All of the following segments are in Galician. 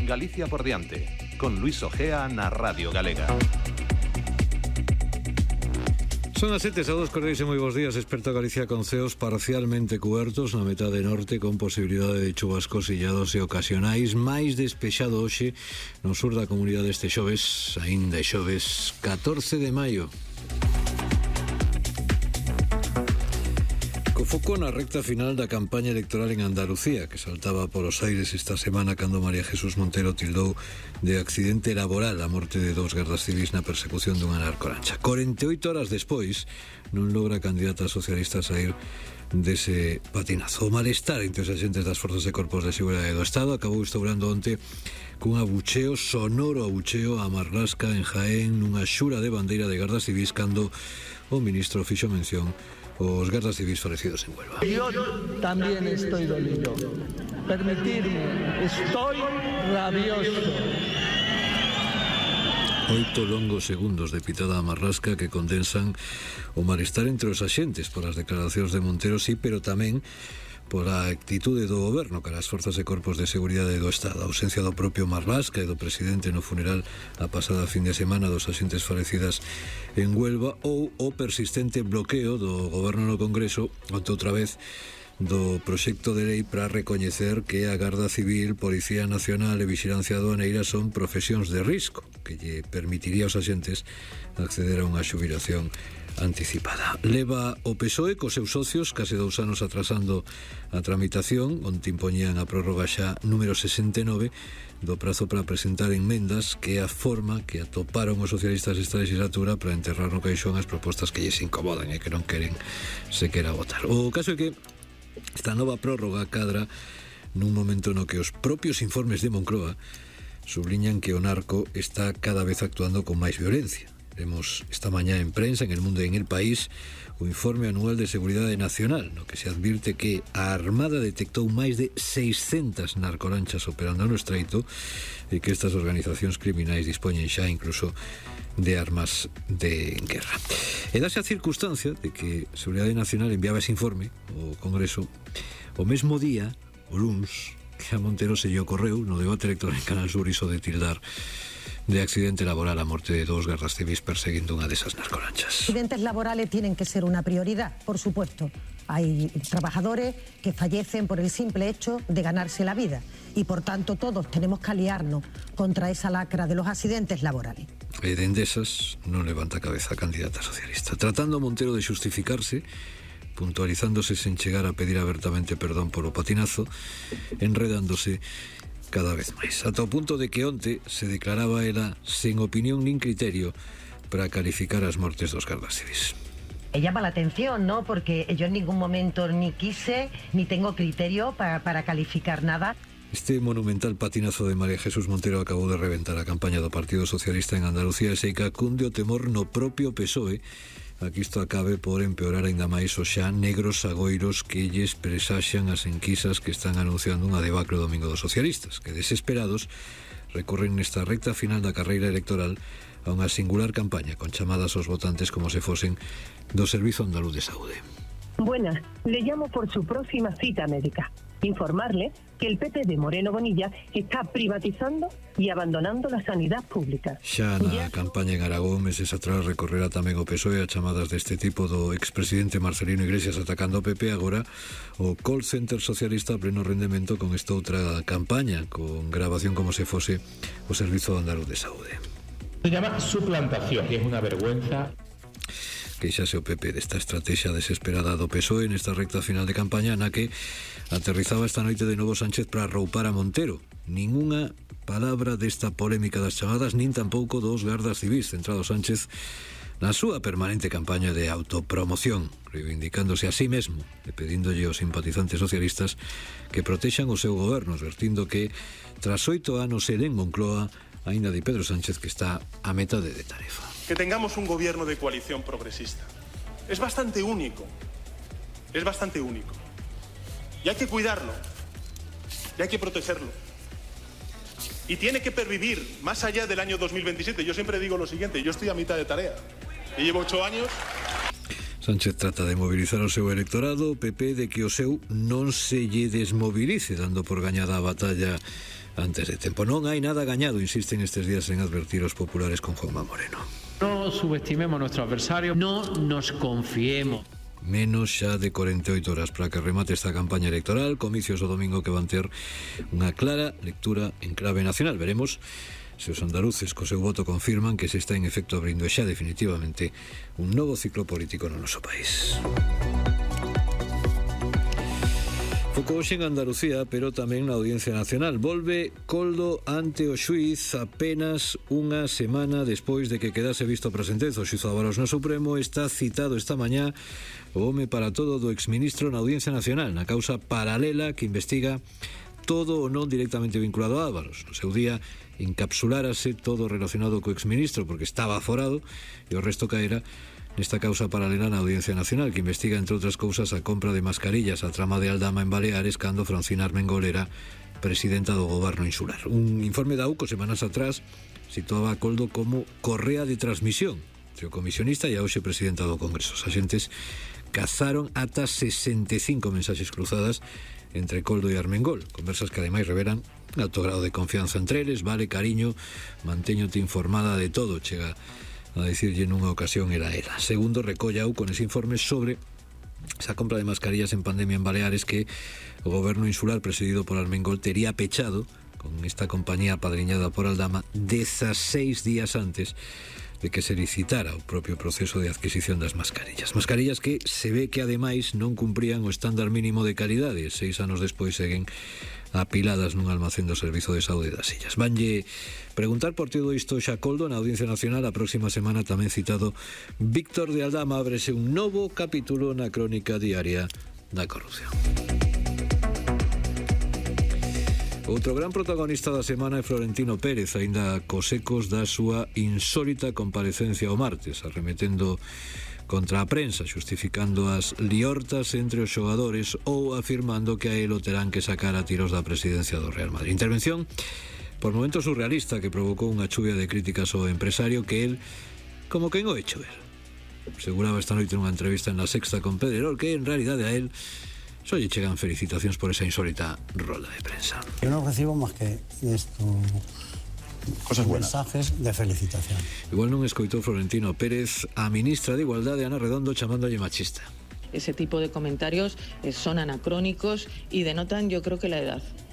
Galicia por diante, con Luis Ojea na Radio Galega. Son as 7, saúdos cordiais e moi bons días. Experto Galicia con ceos parcialmente cubertos na metade norte, con posibilidade de chubascos illados e ocasionais. Máis despexado hoxe no sur da comunidade este xoves, aínda xoves 14 de maio. Co foco na recta final da campaña electoral en Andalucía, que saltaba polos aires esta semana cando María Jesús Montero tildou de accidente laboral a morte de 2 gardas civis na persecución dunha narcolancha. 48 horas despois non logra a candidata socialista sair dese patinazo. O malestar entre os agentes das forzas e corpos de seguridade do Estado acabou instaurando onte cun abucheo, sonoro abucheo a Marlasca en Jaén, nunha xura de bandeira de gardas civis cando o ministro fixo mención os gardas civis falecidos en Huelva. Yo también estoy dolido. Permitidme, estoy rabioso. 8 longos segundos de pitada a Marlasca que condensan o malestar entre os axentes por as declaracións de Montero, sí, pero tamén pola actitude do goberno cara as forzas e corpos de seguridade do Estado. A ausencia do propio Marlasca e do presidente no funeral a pasada fin de semana dos axentes falecidas en Huelva, ou o persistente bloqueo do goberno no Congreso ante outra vez do proxecto de lei para recoñecer que a Garda Civil, Policía Nacional e Vixilancia Aduaneira son profesións de risco, que lle permitiría aos axentes acceder a unha xubilación anticipada. Leva o PSOE cos seus socios case 2 anos atrasando a tramitación, onde impoñían a prórroga xa número 69 do prazo para presentar enmendas, que é a forma que atoparon os socialistas esta legislatura para enterrar no caixón as propostas que lles incomodan e que non queren sequera votar. O caso é que esta nova prórroga cadra nun momento no que os propios informes de Moncloa subliñan que o narco está cada vez actuando con máis violencia. Vemos esta mañá en prensa, en El Mundo e en El País, o informe anual de Seguridade Nacional, no que se advirte que a Armada detectou máis de 600 narcolanchas operando no estreito e que estas organizacións criminais dispoñen xa incluso de armas de guerra. E dase a circunstancia de que Seguridade Nacional enviaba ese informe ao Congreso o mesmo día, o luns, que a Montero se lle ocorreu no debate electoral en Canal Sur iso de tildar de accidente laboral a morte de 2 gardas civis perseguindo unha desas narcolanchas. Accidentes laborales tienen que ser una prioridad, por supuesto. Hay trabajadores que fallecen por el simple hecho de ganarse la vida y por tanto todos tenemos que aliarnos contra esa lacra de los accidentes laborales. E de Endesas non levanta cabeza a candidata socialista, tratando a Montero de xustificarse, puntualizándose sen chegar a pedir abertamente perdón polo patinazo, enredándose cada vez máis, ata o punto de que onte se declaraba ela sen opinión nin criterio para calificar as mortes dos gardas civis. Llama la atención, ¿no? Porque yo en ningún momento ni quise ni tengo criterio para calificar nada. Este monumental patinazo de María Jesús Montero acabou de reventar a campaña do Partido Socialista en Andalucía e se cacunde o temor no propio PSOE a que isto acabe por empeorar aínda máis os xa negros agoiros que lles presaxan as enquisas que están anunciando unha debacle o domingo dos socialistas, que desesperados recorren nesta recta final da carreira electoral a unha singular campaña con chamadas aos votantes como se fosen do Servizo Andaluz de Saúde. Buenas, le llamo por su próxima cita médica. Informarle que el PP de Moreno Bonilla está privatizando y abandonando la sanidad pública. Xa na campaña en Aragón, meses atrás, recorrerá tamén o PSOE a chamadas deste tipo do expresidente Marcelino Iglesias atacando o PP. Agora o call center socialista a pleno rendemento con esta outra campaña, con grabación como se fose o Servizo Andaluz de Saúde. Se llama suplantación, que es una vergüenza. Queixase o PP desta estrategia desesperada do PSOE nesta recta final de campaña na que aterrizaba esta noite de novo Sánchez para roupar a Montero. Ningunha palabra desta polémica das chamadas, nin tampouco dos gardas civis, centrado Sánchez na súa permanente campaña de autopromoción, reivindicándose a sí mesmo e pedíndolle aos simpatizantes socialistas que protexan o seu goberno, advertindo que tras 8 anos en Moncloa aínda di Pedro Sánchez que está a metade de tarefa. Que tengamos un gobierno de coalición progresista es bastante único, y hay que cuidarlo, y hay que protegerlo, y tiene que pervivir más allá del año 2027. Yo siempre digo lo siguiente, yo estoy a mitad de tarea y llevo 8 años. Sánchez trata de mobilizar o seu electorado, o PP de que o seu non se lle desmovilice, dando por gañada a batalla antes de tempo. Non hai nada gañado, insisten estes días en advertir os populares con Juanma Moreno. No subestimemos a nuestro adversario, no nos confiemos. Menos xa de 48 horas para que remate esta campaña electoral, comicios o domingo que van ter unha clara lectura en clave nacional. Veremos se os andaluces co seu voto confirman que se está en efecto abrindo xa definitivamente un novo ciclo político no noso país. Foco hoxe en Andalucía, pero tamén na Audiencia Nacional. Volve Coldo ante o xuiz apenas unha semana despois de que quedase visto para sentenza. O xuiz Ábalos no Supremo está citado esta mañá o home para todo do exministro na Audiencia Nacional, na causa paralela que investiga todo o non directamente vinculado a Ábalos. No seu día encapsulárase todo relacionado co exministro porque estaba aforado e o resto caera nesta causa paralela na Audiencia Nacional que investiga, entre outras cousas, a compra de mascarillas a trama de Aldama en Baleares cando Francina Armengol era presidenta do goberno insular. Un informe da UCO semanas atrás situaba a Coldo como correa de transmisión entre o comisionista e a hoxe presidenta do Congreso. Os axentes cazaron ata 65 mensaxes cruzadas entre Coldo e Armengol, conversas que ademais revelan alto grado de confianza entre eles. Vale, cariño, mantéñote informada de todo, chega a dicirlle nunha ocasión era ela. Segundo, recollau con ese informe sobre esa compra de mascarillas en pandemia en Baleares que o goberno insular presidido por Armengol tería pechado con esta compañía apadriñada por Aldama 16 días antes de que se licitara o propio proceso de adquisición das mascarillas. Mascarillas que se ve que ademais non cumprían o estándar mínimo de calidade. 6 anos despois seguen apiladas nun almacén do Servizo de Saúde das Illas. Vanlle preguntar por todo isto xa Coldo na Audiencia Nacional. A próxima semana tamén citado Víctor de Aldama ábrese un novo capítulo na crónica diaria da corrupción. Outro gran protagonista da semana é Florentino Pérez, aínda cos ecos da súa insólita comparecencia o martes, arremetendo contra a prensa, xustificando as liortas entre os xogadores ou afirmando que a el o terán que sacar a tiros da presidencia do Real Madrid. Intervención por momentos surrealista que provocou unha chuvia de críticas ao empresario que el, como quen o hecho ver, aseguraba esta noite nunha entrevista en La Sexta con Pedrerol que en realidade a el só lle chegan felicitacións por esa insólita rolda de prensa. Yo no recibo más que esto, cosas buenas, mensajes de felicitación. Igual non escoitou Florentino Pérez a ministra de Igualdade Ana Redondo chamándolle machista. Ese tipo de comentarios son anacrónicos y denotan, yo creo que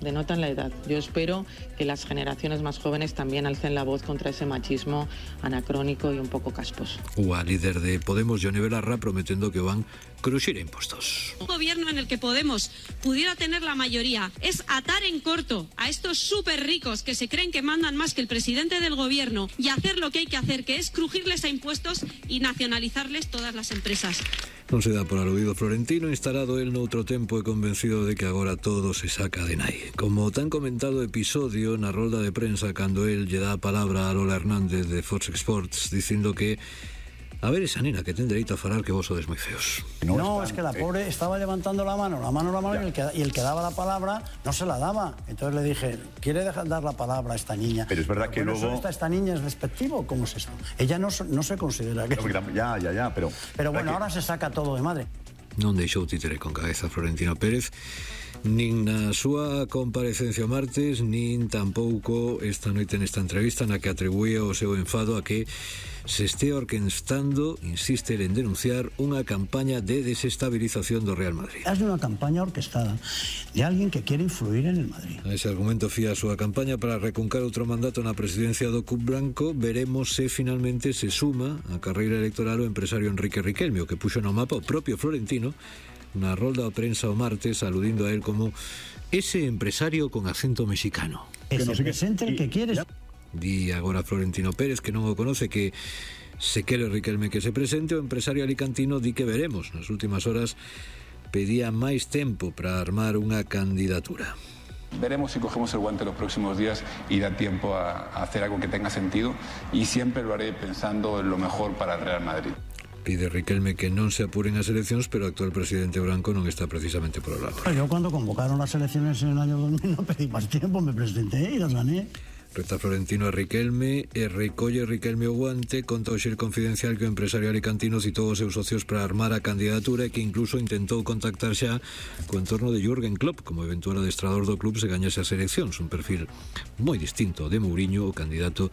denotan la edad. Yo espero que las generaciones más jóvenes también alcen la voz contra ese machismo anacrónico y un poco casposo. O líder de Podemos, Yone Belarra, prometendo que van cruxir impostos. Un gobierno en el que Podemos pudiera tener la mayoría es atar en corto a estos súper ricos que se creen que mandan más que el presidente del gobierno y hacer lo que hay que hacer, que es crujirles a impuestos y nacionalizarles todas las empresas. Non se dá por aludido Florentino, instalado el noutro tempo e convencido de que agora todo se saca de nai. Como tan comentado episodio na rolda de prensa cando el lle dá a palabra a Lola Hernández de Fox Sports dicindo que a ver esa nena que ten dereito a falar que vos sodes moi feos. No, es que la pobre estaba levantando la mano y el que daba la palabra no se la daba. Entonces le dije, ¿quiere dejar dar la palabra a esta niña? Pero es verdad que luego... ¿Esta niña es despectivo? ¿Cómo es esto? Ella no se considera que... Ya, pero... Pero bueno, ahora se saca todo de madre. Non deixou títere con cabeza Florentino Pérez nin na súa comparecencia o martes, nin tampouco esta noite nesta entrevista na que atribúe o seu enfado a que se este orquestando, insiste en denunciar unha campaña de desestabilización do Real Madrid. Es unha campaña orquestada de alguén que quere influir en el Madrid. A ese argumento fía a súa campaña para recuncar outro mandato na presidencia do Club Branco. Veremos se finalmente se suma á carreira electoral o empresario Enrique Riquelme, o que puxo no mapa o propio Florentino na rolda de prensa o martes, aludindo a él como ese empresario con acento mexicano. Que se presente el que quieres. Di agora Florentino Pérez que non o conoce, que se quere Riquelme que se presente. O empresario alicantino di que veremos. Nas últimas horas pedía máis tempo para armar unha candidatura. Veremos si cogemos el guante los próximos días y da tiempo a hacer algo que tenga sentido, y siempre lo haré pensando en lo mejor para el Real Madrid. Pide Riquelme que non se apuren as eleccións, pero o actual presidente branco non está precisamente por o lado. Yo cuando convocaron las elecciones en el año 2000 no pedí más tiempo, me presenté y las gané. Reta Florentino a Riquelme e recolle Riquelme o guante conta o Xir Confidencial que o empresario alicantino citou os seus socios para armar a candidatura e que incluso intentou contactar xa co entorno de Jürgen Klopp como eventual adestrador do club se gañase as eleccións, un perfil moi distinto ao de Mourinho, o candidato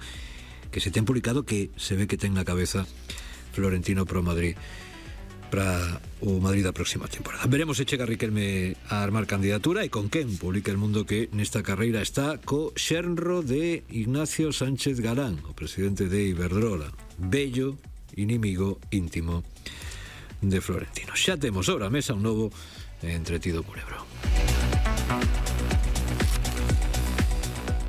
que se ten publicado que se ve que ten na cabeza Florentino pro Madrid para o Madrid da próxima temporada. Veremos se chega Riquelme a armar candidatura e con quen. Publica El Mundo que nesta carreira está co xenro de Ignacio Sánchez Galán, o presidente de Iberdrola, bello inimigo íntimo de Florentino. Xa temos sobre a mesa un novo entretido culebrón.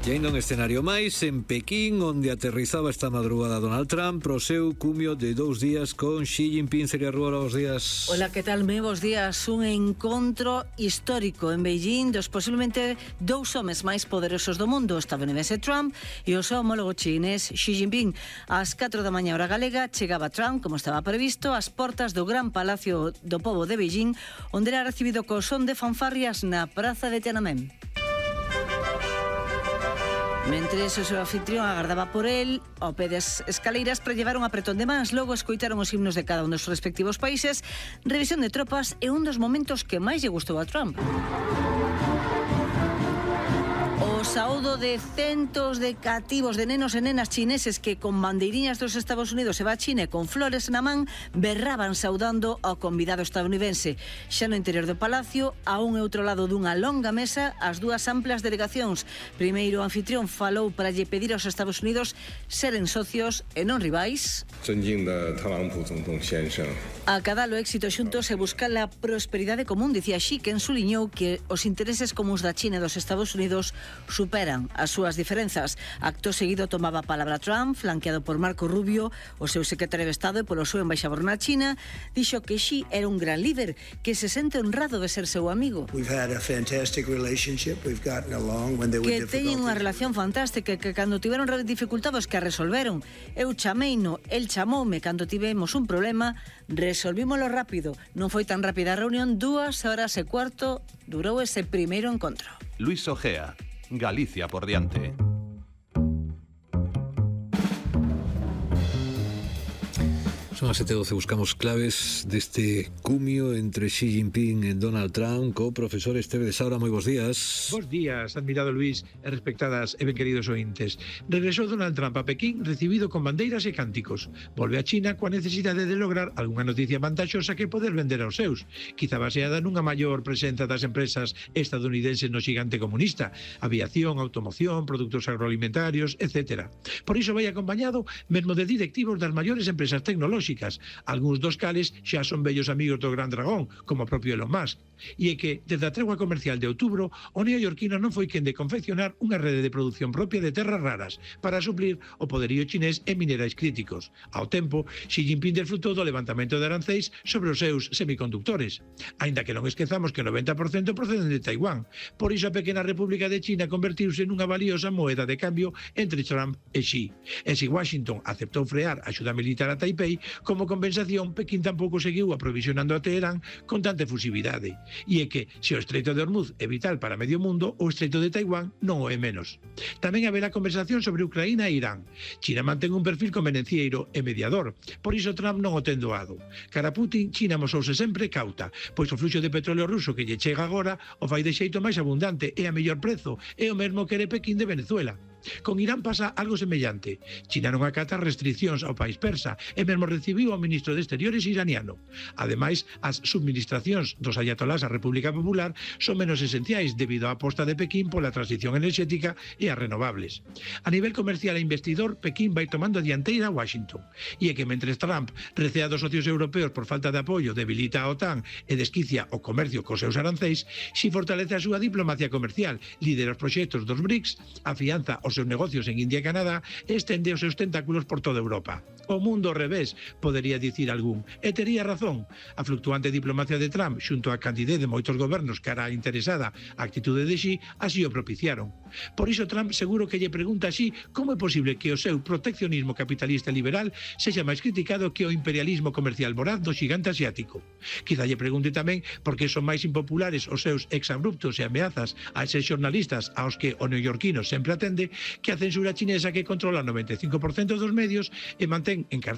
E ainda un escenario máis en Pequín, onde aterrizaba esta madrugada Donald Trump pro seu cumio de 2 días con Xi Jinping. Sería Ruora, bos días. Hola, que tal? Bos días. Un encontro histórico en Beijing dos posiblemente 2 homes máis poderosos do mundo, o estadounidense Trump e o seu homólogo chinés Xi Jinping. Ás 4 da mañá hora galega chegaba Trump, como estaba previsto, ás portas do Gran Palacio do Pobo de Beijing, onde era recibido co son de fanfarrias na praza de Tiananmen. Mentres o seu anfitrión agardaba por el, ao pé das escaleiras para llevar un apretón de mans, logo escoitaron os himnos de cada un dos respectivos países, revisión de tropas e un dos momentos que máis lle gustou a Trump. O saúdo de centos de cativos de nenos e nenas chineses que con bandeiriñas dos Estados Unidos se va a China con flores na man berraban saudando ao convidado estadounidense. Xa no interior do palacio, a un e outro lado dunha longa mesa, as dúas amplas delegacións. Primeiro o anfitrión falou para lle pedir aos Estados Unidos seren socios e non rivais. A cadar o éxito xuntos e buscar a prosperidade común, dicía Xi, que ensuliñou que os intereses comuns da China e dos Estados Unidos superan as súas diferenzas. Acto seguido tomaba a palabra Trump, flanqueado por Marco Rubio, o seu secretario de Estado e polo seu embaixador na China. Dixo que Xi era un gran líder, que se sente honrado de ser seu amigo. Que teñen unha relación fantástica, que cando tiveron dificultados que a resolveron. Eu chameino, el chamoume cando tivemos un problema, resolvímolo rápido. Non foi tan rápida a reunión, 2 horas e cuarto durou ese primeiro encontro. Luis Ojea, Galicia por diante. Son as 7:12, buscamos claves deste cumio entre Xi Jinping e Donald Trump co profesor Esteve de Saura. Moi bons días. Bos días, admirado Luis e respectadas e ben queridos ointes. Regresou Donald Trump a Pequín recibido con bandeiras e cánticos. Volve a China coa necesidade de lograr algunha noticia vantaxosa que poder vender aos seus, quizá baseada nunha maior presenza das empresas estadounidenses no xigante comunista, aviación, automoción, produtos agroalimentarios, etc. Por iso vai acompañado mesmo de directivos das maiores empresas tecnolóxicas, algúns dos cales xa son vellos amigos do Gran Dragón, como o propio Elon Musk. E é que, desde a tregua comercial de outubro, o neoyorquino non foi quen de confeccionar unha rede de produción propia de terras raras para suplir o poderío chinés en minerais críticos. Ao tempo, Xi Jinping desfrutou do levantamento de arancéis sobre os seus semiconductores. Aínda que non esquezamos que o 90% proceden de Taiwán. Por iso a pequena República de China convertiuse nunha valiosa moeda de cambio entre Trump e Xi. E se Washington aceptou frear a axuda militar a Taipei, como compensación, Pequín tampouco seguiu aprovisionando a Teherán con tanta efusividade. E é que, se o Estreito de Hormuz é vital para medio mundo, o Estreito de Taiwán non o é menos. Tamén haberá conversación sobre Ucraína e Irán. China mantén un perfil convenencieiro e mediador, por iso Trump non o ten doado. Cara a Putin, China mosouse sempre cauta, pois o fluxo de petróleo ruso que lle chega agora o fai de xeito máis abundante e a mellor prezo, é o mesmo que era Pequín de Venezuela. Con Irán pasa algo semellante. China non acata restriccións ao país persa e mesmo recibiu ao ministro de Exteriores iraniano. Ademais, as subministracións dos ayatolás á República Popular son menos esenciais debido á aposta de Pequín pola transición enerxética e as renovables. A nivel comercial e investidor, Pequín vai tomando a dianteira a Washington. E é que mentre Trump recea dos socios europeos por falta de apoio, debilita a OTAN e desquicia o comercio cos seus arancéis, si fortalece a súa diplomacia comercial, lidera os proxectos dos BRICS, afianza os seus negocios en India e Canadá e estende os seus tentáculos por toda Europa. O mundo ao revés, podería dicir algún. E tería razón. A fluctuante diplomacia de Trump xunto a candidez de moitos gobernos cara a interesada a actitude de Xi así o propiciaron. Por iso Trump seguro que lle pregunta a Xi como é posible que o seu proteccionismo capitalista e liberal sexa máis criticado que o imperialismo comercial voraz do xigante asiático. Quizá lle pregunte tamén por que son máis impopulares os seus exabruptos e ameazas a eses xornalistas aos que o neoyorquino sempre atende que a censura chinesa que controla o 95% dos medios e mantén encarcelados